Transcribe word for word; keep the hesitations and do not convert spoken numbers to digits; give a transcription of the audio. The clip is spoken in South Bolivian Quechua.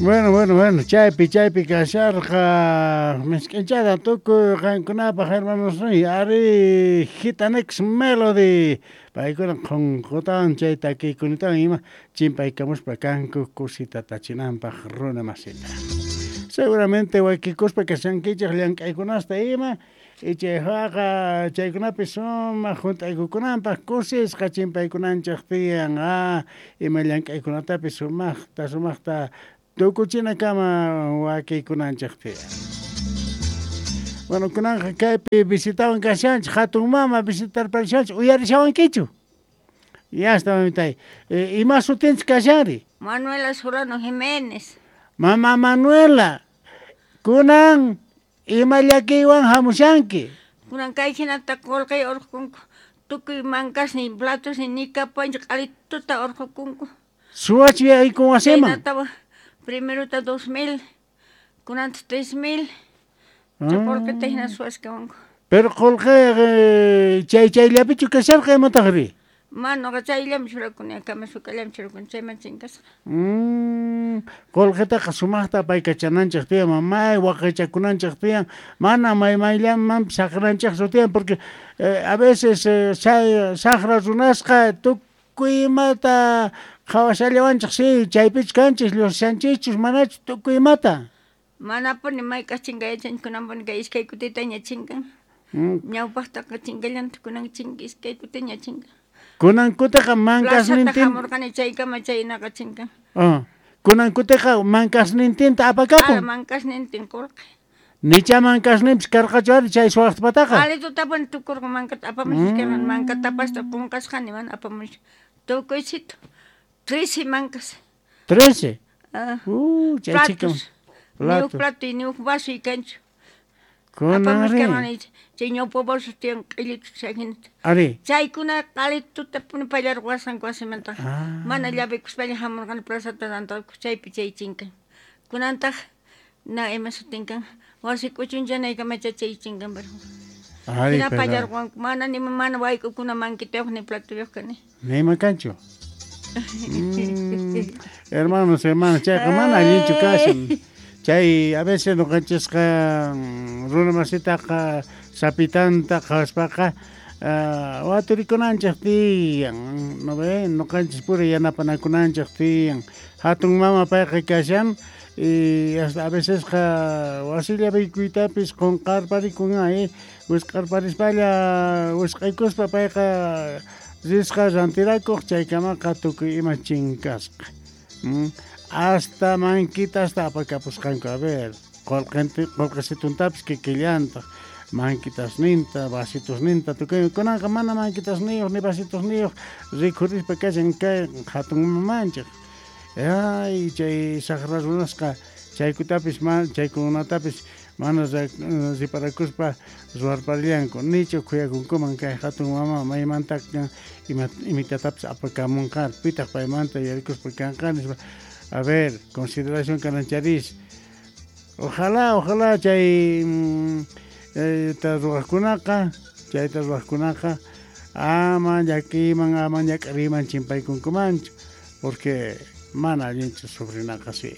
Bueno, bueno, bueno, chaypi, chaypi kasharqa misk'inchata tukuy qankunapaq hermanosniy, ari Gitanex Melody, paykuna qhonqotawan chay takiykunatawan ima chimpaykamuspa kanku kusita tachinanpaq runa masita. Seguramente wakikuspa kashankichej llank'aykunasta ima, y chayqa chaykunapi sumaq junt'aykukunanpaq kusisqa chimpaykunanchej tiyan, ah, ima llank'aykunatapis sumaqta sumaqta tukuchinakama wakiykunanchej tiyan. Bueno, kunanqa kaypi visitawan kashanchej, hatun mama visitarparishanchej, uyarishawankichu? Ya está, mamitay. Eh, ima sutinchik kashanri? Manuela Solano Jiménez. Mama Manuela, kunan ima llakiywan hamushanki? Kunan kay hinata qullqi urqukunku, tukuy mankasniy, platosniy nikapuwanchik q'alituta urqukunku. Suwachu yaykun wasiman? Chaynatawan primerota dos mil, kunanta tres mil, chay qullqita hina suwashkawanku. Pero qullqi chay chayllapichu kasharqa imataqri? Mana nuqa chayllami churakuni, kama sukallami churakuni, chayman chinkasqa. Mm, qullqitaqa sumaqta apaykachananchej tiyan, mamay waqaychakunanchej tiyan, mana may mayllamanpis saqranchejchu tiyan, porque eh, a veces eh, chay saqra runasqa tukuy imata qhawashallawanchej, sí, chaypichu kanchis, lluqsishanchikchus, manachu tukuy imata. Manapuni mayk'aq chinkayachanchik, kunanpuni kay iskay kutitaña chinkan. Mm. Ñawpaqtaqa chinkallantaq, kunan chinka iskay kutiña chinkan. Kunan kutiqa Plazata mankasnintin hamurqani chaykama chaynaqa chinkan. Ah, kunan kutiqa mankasnintinta apakapun. Ah, mankasnintin qullqi. Nicha mankasninpis karqachu ari chay suwaqpataqa. Q'alitutapuni tukurqa mankata apamushkarqani, Mm. manka tapasta qunqasqani mana apamush. Tukuysitu. Trece mankas. Trece? Ah. Uh, chay chika. Platos. Ni huk plato y ni huk vaso y kanchu. Kunan Apamushkarqani chay ñawpa vaso tiyan q'illitu chayhinata. Ari. Chaykuna q'alitutapuni pallarqusqanku wasimanta. Ah. Mana llavikuspaña hamurqani plazata tantakuq chaypi chay chinkan. Kunantaq na ima sutinkan wasi k'uchunchanaykamachá chay chinkan pero. Ari, Hina pero pallarqanku, mana ni mana wayk'ukuna mankitayuq ni platuyuq kani. Ni ima kanchu. Mm, hermanos, hermanas, chayqa mana allinchu kashan. Chay a veces ñuqanchisqa runa masitaqa sapitanta qhawaspaqa uh, waturikunanchej tiyan, no ve, ñuqanchis pura yanapanakunanchej tiyan. Hatun mama payqa kashan y hasta a vecesqa wasillapiykuytapis qunqarparikun eh, wisq'arparispalla wisq'aykuspa payqa risqa rantirakuq chaykamaqa tukuy ima chinkasqa. Mm, hasta mankitasta apakapusqanku, a ver, qullqinti qullqisituntapis kikillantaq, mankitasninta, vasitusninta, tukuy kunanqa mana mankitasniyuq ni vasitusniyuq rikhurispa kashan kay hatun mamanchik. Ay, chay saqra runasqa chaykutapis ma chaykunatapis mana riparakuspa ruwarparillanku, nichu khuyakunkuman kay hatun mama maymanta ima imitatapis apakamunqa, pitaq paymanta yuyarikuspa kanqa nispa. A ver, consideración kanancharis. Ojalá, ojalá chay ta ruwaqkunaqa, chayta ruwaqkunaqa ama llakiyman, ama ñak'ariyman chimpaykunkumanchu, porque mana allinchu sufrinaqa sí.